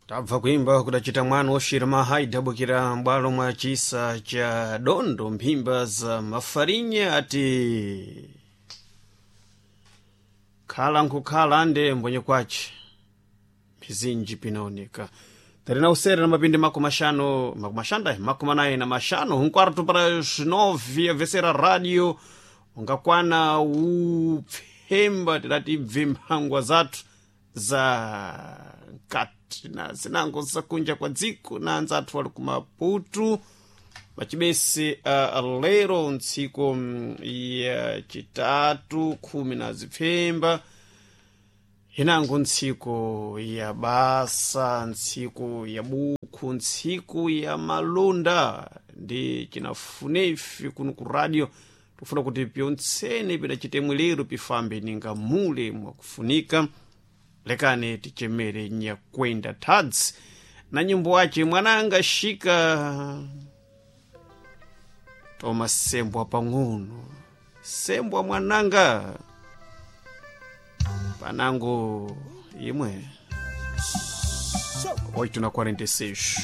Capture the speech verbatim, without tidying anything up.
Tabva kuimba kudacita mwana woxira maha idabukira m'bwalo mwa cisa cha dondo mphimba za mafarinya ati khala nkhukhala ande mbonye kwace mizinji pinaoneka tarina usere na mapindi makumi axano makumi axanda makumi anayi na maxano um quarto para as nove avesera rádio ungakwana upfemba tidati ibve mphangwa zathu za nkati na zinango zakunja kwa dziko na anzathu ali kumaputu pachibese uh, lero ntsiku mm, ya chitatu khumi na zipfemba inango ntsiku ya basa ntsiku ya bukhu ntsiku ya malonda ndi chinafunefi kuno ku radio tikufuna kuti pyontsene pidacitemwe lero pifambe ninga mule mwakufunika lekani tichemere nyakwenda tadzi na nyimbo wace mwananga shika toma sembwa pang'ono sembwa mwananga panango imwe oito na quarenta e seis.